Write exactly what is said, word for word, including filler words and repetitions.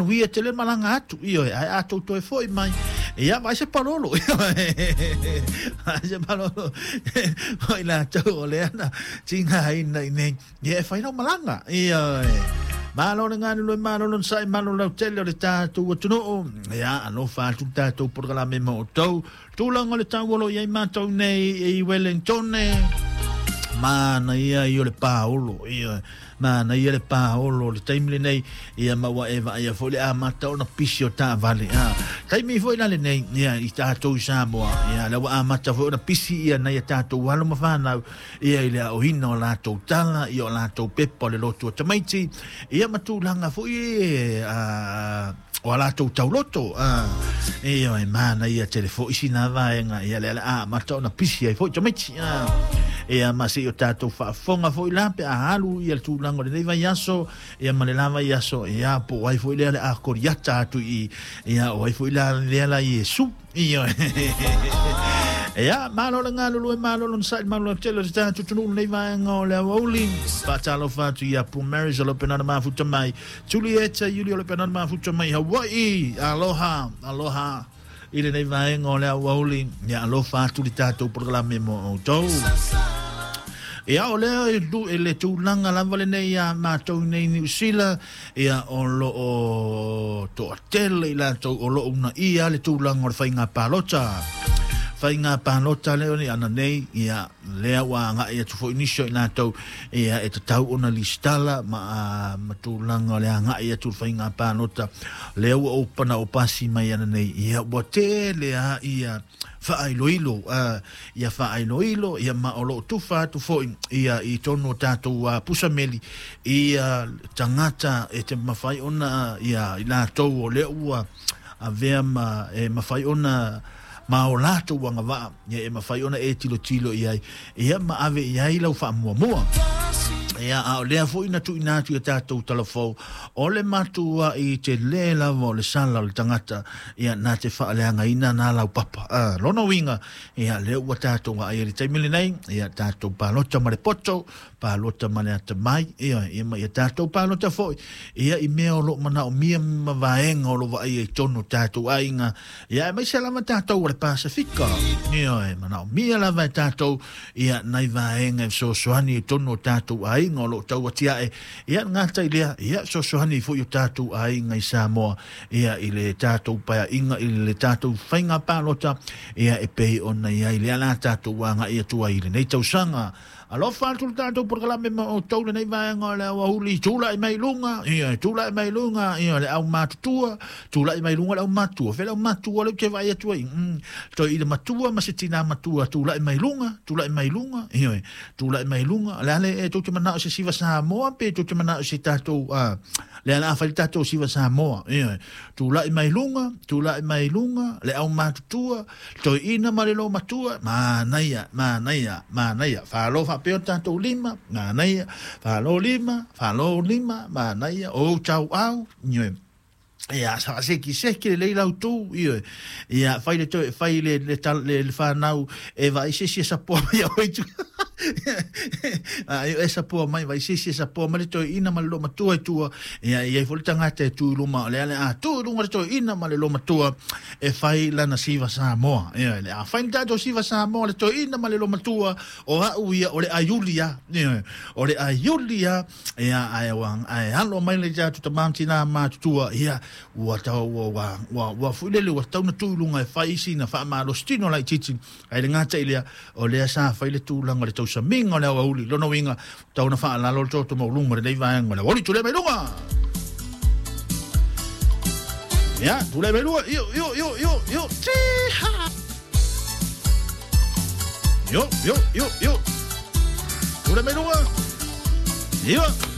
Manuia tele malanga atu ioe ae a tou toe fo'i mai ia vai se palolo vai se palolo o i latou o lea na tigaina i nei ia e fai lau malaga ioe. Malo le galulue, malo le onosai, malo le lautele o le tatou atunuu. Ia alofa atu le tatou polokalame ma outou. Tulaga o le tau o lo o i ai matou nei i Wellington, manaia ia o le paolo ia, manaia le paolo o le taimi lenei ia ma ua e vaaia foi le amata ona pisi o taavale a taimi foi la lenei ia i tatou i Samoa ia lea ua amata foi ona pisi ia nai a tatou alo ma fanau ia i le aoina o latou tala ia o latou pepa o le lotu o tamaiti ia ma tulaga foi a o a latou tauloto a ia e manaia tele foi sina vaega ia lea le amata ona pisi ai foi tamaiti a ia ma se i o tatou faafofoga foi la pe a alu ia le tulaga o lenei vaiaso ia ma le la vaiaso ia po o ai foi lea le a koriata atu i ia o ai foi la lea la Iesu ia. Ia malo le galulue, malo le onosai, malo le tele o le tatou atunuu lenei vaega o le aoauli. Faatalofa atu ia Pu Marys o lo penana mafuta mai, Julieta Iuli o lo penana mafuta mai Hawaii. Aloha, aloha i lenei vaega o le aoauli. Ia alofa atu le tatou polokalame mo outou. Ia o lea e le tulaga lava lenei ia matou nei Niu Sila ia o loo toatele i latou o loo uunaia le tulaga o le faiga palota. Faiga palota lea o ana nei ia lea ua agai atu foi nisi o i latou ia e tatau ona listala ma, ma tulaga o le agai atu le faiga palota lea ua opana o pasi mai ana nei ia ua tele a ia faailoilo uh, ia faailoilo ia ma o loo tufa atu foi ia i tonu o tatou uh, pusameli ia tagata e te mafai ona ia i latou o lea ua avea ma e mafai ona ma o latou agavaa ia e mafai ona e tilotilo i ai ia ma ave i ai lau faamuamua. Ia a o lea foi na tuuina atu ia tatou talafou o le matua i te lē lava o le sala o le tagata ia na te faaleagaina na laupapa a lona uiga ia lea ua tatou aai i le taimi lenei ia tatou palota ma le poto, palota ma le atamai ia ia ma ia tatou palota foi ia i mea o loo manaomia ma vaega o lo vaaia i tonu o tatou aiga ia aemaise lava tatou o le Pasifika ia e manaomia lava e tatou ia nai vaega e fesoasoani i tonu o tatou aiga o loo tau atiae ia gata i lea ia fesoasoani foi o tatou aiga i Samoa ia i le tatou paeaiga i le tatou faiga palota ia e pei ona i ai lea la tatou agai atu ai i lenei tausaga. Alofa atu le tatou polokalame ma outou lenei vaega o le aoauli. Tulai mai luga ia, tulai mai luga ia le aumatutua, tulai mai luga le aumatua, fe le aumatua le ou te vaai atu ai mm, toe i le matua ma se tinā matua, tulai mai luga, tulai mai luga ia, tulai mai luga le ale e tou te manao se siva Samoa pe tou te manao se tatou uh, le ala a fai le tatou siva Samoa ia, tulai mai luga, tulai mai luga le aumatutua, toeina ma le lomatua, manaia, manaia, manaia, falo faapea o tatou lima, manaia, falo lima, falo lima, manaia, o tau au, ia. Ia, sa seki seki le lei lau tu, ia, ia, fai le toe, fai le, le, le, le whanau, e vai se si e sapoa mai au i tu. A, e sapoa mai, vai se si e sapoa mai le toe ina ma le lo matua i tua, ia, ia i fo le tangata e tu i luma, le ale a tu i lunga le toe ina ma le lo matua, e fai lana siva Samoa, ia, le a fai le tatou siva Samoa, le toe ina ma le lo matua, o au ia, o le aiulia, ia, o le aiulia, ia, ai, ai, alo mai le tatou tamamtina matutua, ia, ua tau ua ua ua foi lele ua tau na tu i luga e fai isi na faamalositino laitiiti ai le gata i lea o lea sa fai le tulaga o le tausamiga o le aoauli lona uiga tau na faalalo le toto mauluga lenei vaega o le aoauli. Tulai mai luga ia, tulai mai luga io io io io io tiha io io io io tulai mai luga io.